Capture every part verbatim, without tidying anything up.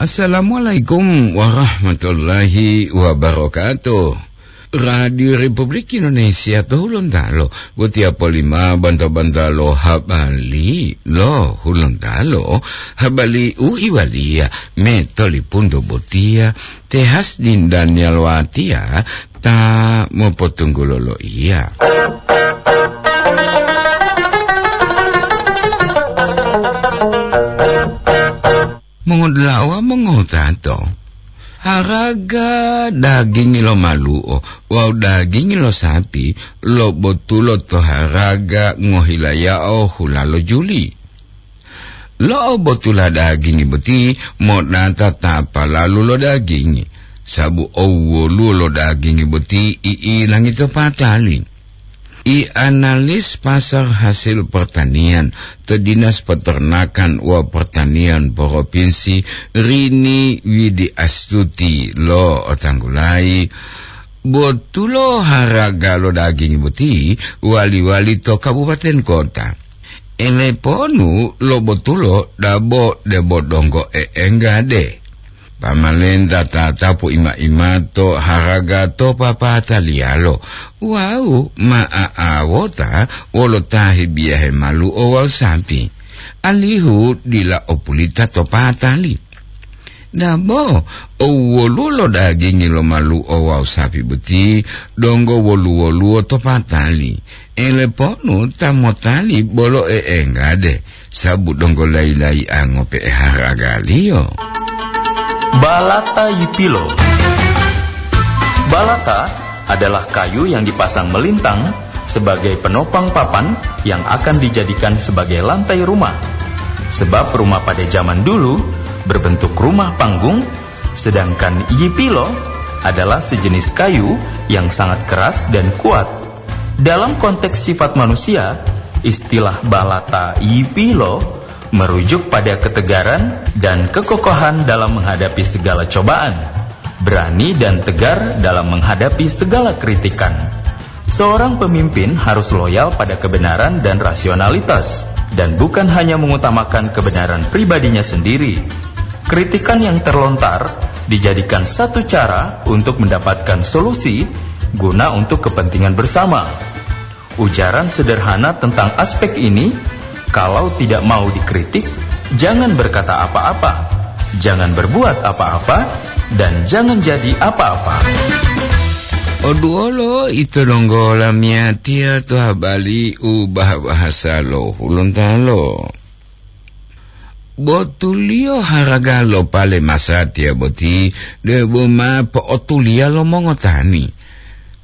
Assalamualaikum warahmatullahi wabarakatuh. Radio Republik Indonesia to Hulontalo, botiya polima banta-bantalo habali lo Hulontalo, habali u iwaliya me tolipunto botiya, te Hasdin Daniel Watiya ta mopotunggulo loiya. Mongodula'a mongowutato, haraga dagingi lo malu'o wawu dagingi lo sapi lobotulo to haraga ngohilayao hula lo juli. Lo'obotula dagingi boti modata ta palalu lo dagingi, sabu owwoluwo lo dagingi boti i'ilangi to patali. I analis pasar hasil pertanian to Dinas Peternakan wa Pertanian Provinsi Rini Widi Astuti lo otanggulayi, botulo haraga lo daging boti wali-wali to kabupaten kota. Eleponu lo botulo dabo debo donggo e'enggade. Pamalenta tatapu ima-imato haraga to papataliyalo wawu ma'a'awota wolo ta hebiyahe malu'o wawu sapi, alihu dila opulita to patali. Dabo, owwoluwo lo dagingi lo malu'o wawu sapi boti donggo wolu-woluwo to patali. Eleponu ta motali bolo e'enggade, sabu donggo layi-layi'a ngope'e haragaliyo. Balata yipilo. Balata adalah kayu yang dipasang melintang sebagai penopang papan yang akan dijadikan sebagai lantai rumah. Sebab rumah pada zaman dulu berbentuk rumah panggung, sedangkan yipilo adalah sejenis kayu yang sangat keras dan kuat. Dalam konteks sifat manusia, istilah balata yipilo merujuk pada ketegaran dan kekokohan dalam menghadapi segala cobaan, berani dan tegar dalam menghadapi segala kritikan. Seorang pemimpin harus loyal pada kebenaran dan rasionalitas, dan bukan hanya mengutamakan kebenaran pribadinya sendiri. Kritikan yang terlontar dijadikan satu cara untuk mendapatkan solusi guna untuk kepentingan bersama. Ujaran sederhana tentang aspek ini, kalau tidak mau dikritik, jangan berkata apa-apa, jangan berbuat apa-apa, dan jangan jadi apa-apa. Oduolo ito donggo lamiyatiya to habari u bahasa lo Hulontalo. Botuliyo haraga lo pale masatiya boti debo ma po'otuliya lo mongotani.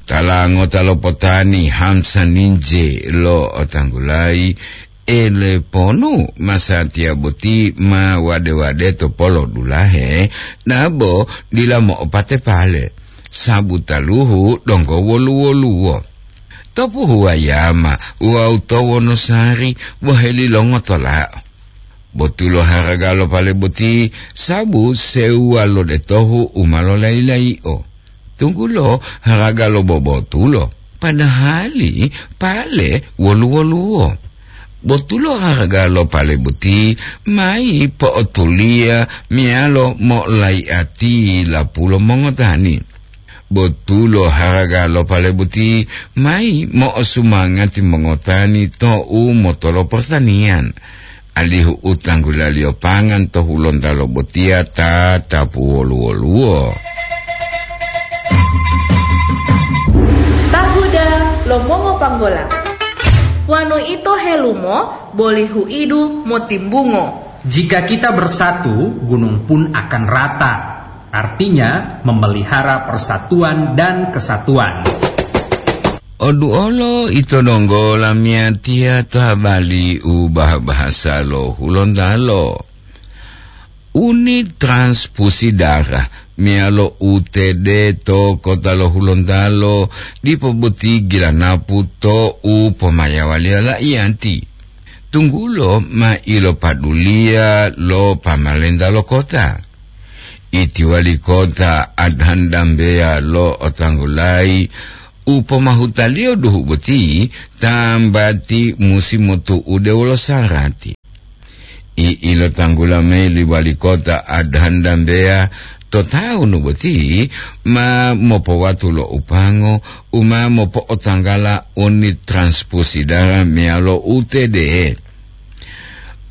Tala ngota lo potani Hamsa Ninje lo otanggulayi, eleponu masatiya boti ma wade-wade to polo dulahe, nabo dila mo'opate pale, sabu taluhu donggo wolu-woluwo. To Puhuwayama wawu to Wonosari bohelilongo tola'o. Botulo haraga lo pale boti, sabu sewuwa lo detohu u ma lolayi-layi'o. Tunggulo haraga lo bobotulo, padahali pale wolu-woluwo. Botulo haraga lo pale boti mayi po'otuliya meyalo mo'olayi'ati lapulo mongotani. Botulo haraga lo pale boti mayi mo'osumangati mongotani to u motolo pertanian, alihu u tanggulaliyo pangan to Hulontalo botiya ta tapu wolu-woluwo. Tahuda lo mongopanggola. Wonu ito helumo, boli huidu motimbungo. Jika kita bersatu, gunung pun akan rata. Artinya, memelihara persatuan dan kesatuan. Oduolo ito donggo lamiyatiya to habari u bahasa lo Hulontalo. Unit transfusi darah meyalo U T D to kota lo Hulontalo dipo boti gilanapu to u pomayawaliyo la'iyanti. Tunggulo ma ilopaduliya lo pamalenta lo kota. Iti wali kota Adhan Dambeya lo otanggulayi u pomahutaliyo duhu boti tambati musi motu'ude wolo sarati. I ilotanggula mayi li wali kota Adhan Dambeya to taunu boti ma mopowatu lo upango u ma mopo'otanggala unit transfusi darah meyalo U T D.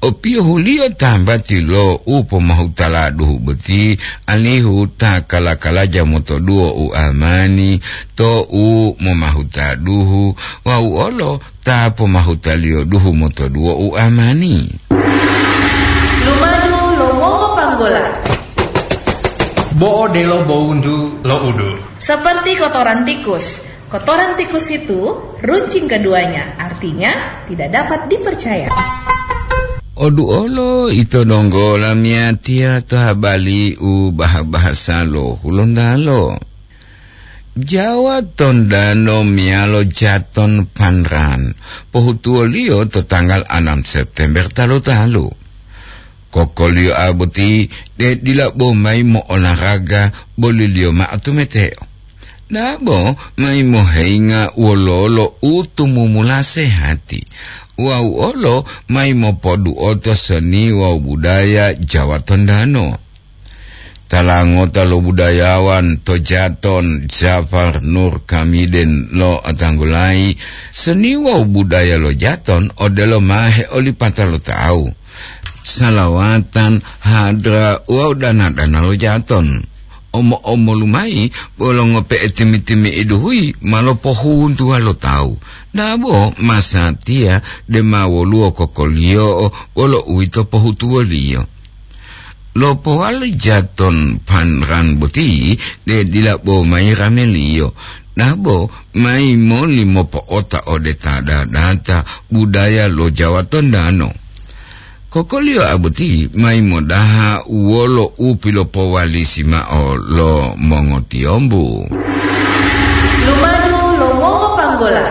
Opiyohuliyo tambati lo u pomahutala duhu boti, alihu ta kala-kalaja motoduwo u amani to u momahuta duhu, wawu olo ta pomahutaliyo duhu motoduwo u amani. Lumadu lo mongopanggola. Bo odelo bowuntu lo udu. Seperti kotoran tikus. Kotoran tikus itu runcing keduanya, artinya tidak dapat dipercaya. Oduolo ito donggo lamiyatiya to habali u baha-bahasa lo Hulontalo. Jawa Tondano meyalo Jaton Panran, pohutuwoliyo to tanggal anam September talu-talu. Kokoliyo boti de dila bo mayi mo'olaraga, boliliyo ma'o tumeteo. Dabo mayi moheyinga wololo u tumumula sehati, wawu olo mayi mopoduoto seni wawu budaya Jawa Tondano. Tala ngota lo budayawan to Jaton, Jafar Nur Kamiden, lo'otanggulayi seni wawu budaya lo Jaton odelo ma heolipata lo tawu, salawatan, hadra wawu dana-dana lo Jaton. Omo-omolu mayi bolo ngope'e timi-timi'idu huyi ma lopohuntuwa lo tawu, dabo masatiya de ma woluwo kokoliyo'o wolo uwito pohutuwoliyo. Lopowali Jaton Panran boti de dila bo mayi rameliyo, dabo mayi moli mopo'ota ode ta dadata budaya lo Jawa Tondano. Kokoliyo boti mayi modaha wolo u pilopowalisi ma'o lo mongotiyombu. Lumadu lo mongopanggola.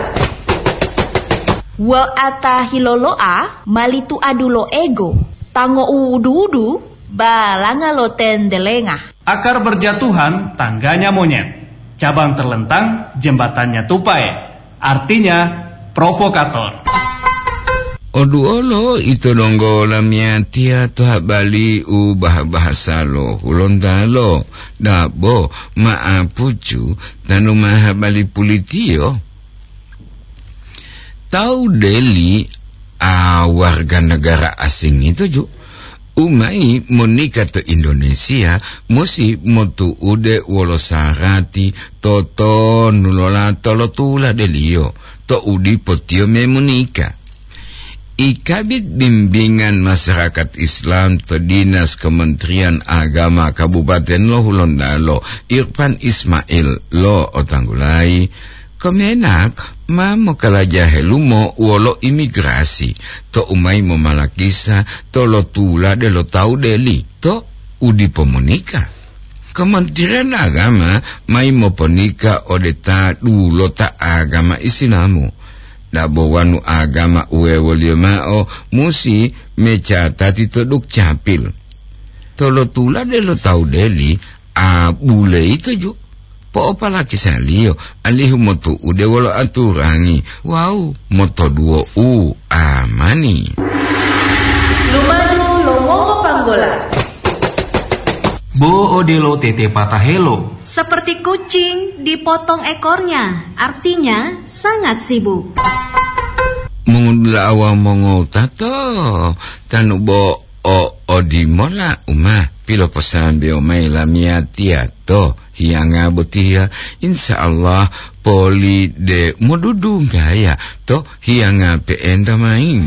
Wa'ata hilolo'a mali tuadu lo ego, tango u udu-udu, balanga lo tendelenga. Akar berjatuhan, tangganya monyet. Cabang terlentang, jembatannya tupai. Artinya, provokator. Oduolo ito donggo lamiyatiya to habali u baha-bahasa lo Hulontalo, dabo ma'apucu tanu ma habali pulitiyo. Tawu Deli a warga negara asing ito ju, u mayi monika to Indonesia, musi motu'ude wolo sarati totonu lo lato lo tuladeliyo to u dipo tiyo me monika. I Kabid Bimbingan Masyarakat Islam to Dinas Kementerian Agama Kabupaten lo Hulontalo, Irfan Ismail, lo'otanggulayi, Kemenak ma mokalaja helumo wolo imigrasi to u mayi momalakisa to lo tulade lo tawu Deli to u dipo monika. Kementerian Agama mayi moponika ode ta dulota agama Isilamu. Dabo wonu agama uwewoliyo ma'o musi mecatati to Dukcapil. To lo tulade lo tawu Deli, a bule ito ju, po'opalakisaliyo alihu motu'ude wolo aturangi wawu motoduwo u amani. Lumadu lo mongopanggola. Bo odelo tete patahelo. Seperti kucing dipotong ekornya, artinya sangat sibuk. Mongudula'a wawu mongowutato, tanu bo o odimola u ma piloposambewo mayi lamiyatiya to hiyanga botiya, insya Allah poli de modudunggaya to hiyanga pe'enta mayi.